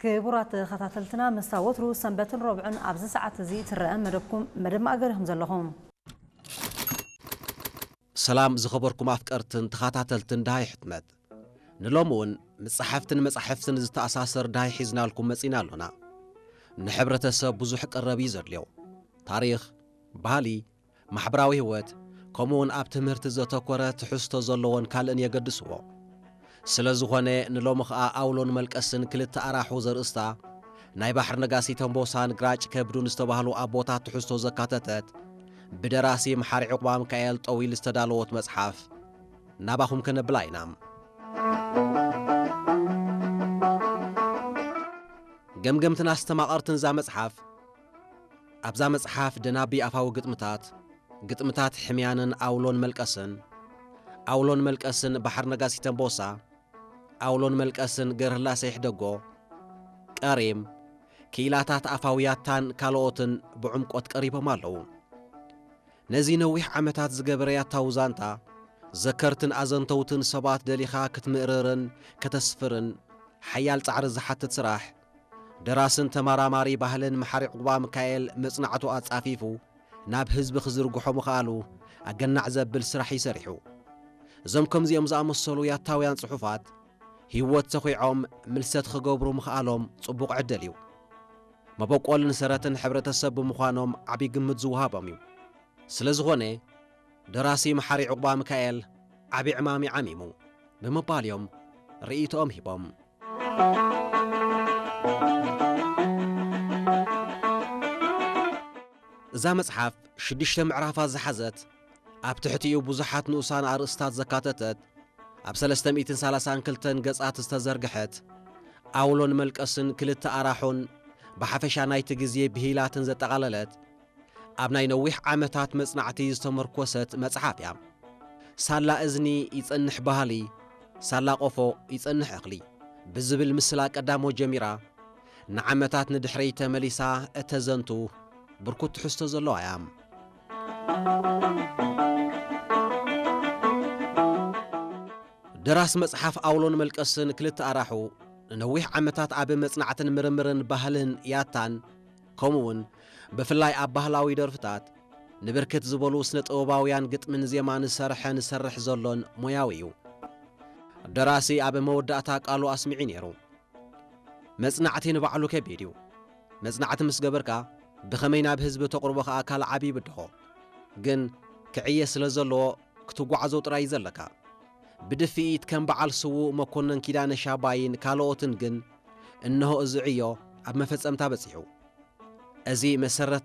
ክቡራት ተኸታተልትና፣ ምስታ ወትሩ ሰንበትን ረቡዕን ኣብዚ ሰዓት እዚ ትረአ መደብኩም፣ መደብ ማእገር ኢኹም ዘለኹም። ሰላም ዝኸበርኩም ኣፍቀርትን ተኸታተልትን ደሃይ ሕትመት። ንሎሚ እውን ምስ ጸሓፍትን መጻሕፍትን ዝተኣሳሰር ደሃይ ሒዝናልኩም መጺና ኣሎና። ንሕብረተሰብ ብዙሕ ቀረብ እዩ ዘድልዮ። ታሪኽ፣ ባህሊ፣ ማሕበራዊ ህይወት፣ ከምኡ እውን ኣብ ትምህርቲ ዘተኮረ ትሕዝቶ ዘለዎን ካልእን የገድስዎ። ስለ ዝኾነ ንሎሚ ኸኣ ኣውሎን መልቀስን ክልተ ኣራሑ ዘርእስታ ናይ ባሕሪ ነጋሲ ተንቦሳን ግራጭ ከብዱን ዝተባህሉ ኣቦታት ትሕዝቶ ዘካተተት ብደራሲ መሓሪ ዕቑባ ሚካኤል ጠዊል ዝተዳለወት መጽሓፍ ናባኹም ከነብላ ኢና። ገምገምትን ኣስተማቐርትን እዛ መጽሓፍ ኣብዛ መጽሓፍ ደናቢ ኣፋዊ ግጥምታት፣ ግጥምታት ሕምያንን ኣውሎን መልቀስን፣ ኣውሎን መልቀስን ባሕሪ ነጋሲ ተንቦሳ፣ ኣውሎን መልቀስን ገርህላሰ ይሕደጎ፣ ቀሪም፣ ክኢላታት ኣፋዊ ያታን ካልኦትን ብዕምቆት ቀሪቦም ኣለዉ። ነዚ ነዊሕ ዓመታት ዝገበረ ያታዊ ዛንታ፣ ዘከርትን ኣዘንተውትን ሰባት ደሊኻ ክትምእርርን ከተስፍርን ሓያል ጻዕሪ ዝሓትት ስራሕ፣ ደራስን ተመራማሪ ባህልን መሓሪ ዕቑባ ሚካኤል መጽናዕቱ ኣጻፊፉ ናብ ህዝቢ ክዝርግሖ ምኽኣሉ ኣገናዕ ዘብል ስራሕ እዩ ሰሪሑ። እዞም ከምዚኦም ዝኣመሰሉ ያታውያን ጽሑፋት፣ ህይወት ተኺዖም ምልሰት ክገብሩ ምኽኣሎም ጽቡቕ ዕድል እዩ። መበቆልን ሰረትን ሕብረተሰብ ብምዃኖም ዓቢ ግምት ዝወሃቦም እዩ። ስለ ዝኾነ፣ ደራሲ መሓሪ ዕቑባ ሚካኤል ዓቢ ዕማም እዩ ዓሚሙ ብምባል እዮም ርእይቶኦም ሂቦም። እዛ መጽሓፍ ሽዱሽተ ምዕራፋት ዝሓዘት፣ ኣብ ትሕቲኡ ብዙሓት ንኡሳን ኣርእስታት ዘካተተት፣ ኣብ ሰለስተ ሚእትን ሰላሳን ክልተን ገጻት ዝተዘርግሐት፣ ኣውሎን መልቀስን ክልተ ኣራሑን ብሓፈሻ ናይቲ ግዜ ብሂላትን ዘጠቓለለት፣ ኣብ ናይ ነዊሕ ዓመታት መጽናዕቲ ዝተመርኮሰት መጽሓፍ እያ። ሳላ እዝኒ ይጸንሕ ባህሊ፣ ሳላ ቆፎ ይጸንሕ እኽሊ ብዝብል ምስላ ቀዳሞ ጀሚራ፣ ንዓመታት ንድሕረይ ተመሊሳ እተዘንቱ ብርኩት ትሕዝቶ ዘለዋ እያ። ደራሲ መጽሓፍ ኣውሎን መልቀስን ክልተ ኣራሑ ንነዊሕ ዓመታት ኣብ መጽናዕትን ምርምርን ባህልን ያታን፣ ከምኡውን ብፍላይ ኣብ ባህላዊ ደርፍታት ንብርክት ዝበሉ ስነ ጥበባውያን ግጥምን ዜማን ዝሰርሐን ዝሰርሕ ዘሎን ሞያዊ እዩ። ደራሲ ኣብ መወዳእታ ቃሉ ኣስሚዑ ነይሩ። መጽናዕቲ ንባዕሉ ከቢድ እዩ። መጽናዕቲ ምስ ገበርካ፣ ብኸመይ ናብ ህዝቢ ተቕርቦ ከኣ ካልእ ዓቢ ይብድሆ። ግን ክዕየ ስለ ዘለዎ፣ ክትጓዓዞ ጥራይ እዩ ዘለካ። ብድፍኢት ከም በዓል ስዉእ መኮነን ኪዳነ ሻባይን ካልኦትን ግን፣ እንሆ እዚ ዕዮ ኣብ መፈጸምታ በጺሑ። እዚ መሰረት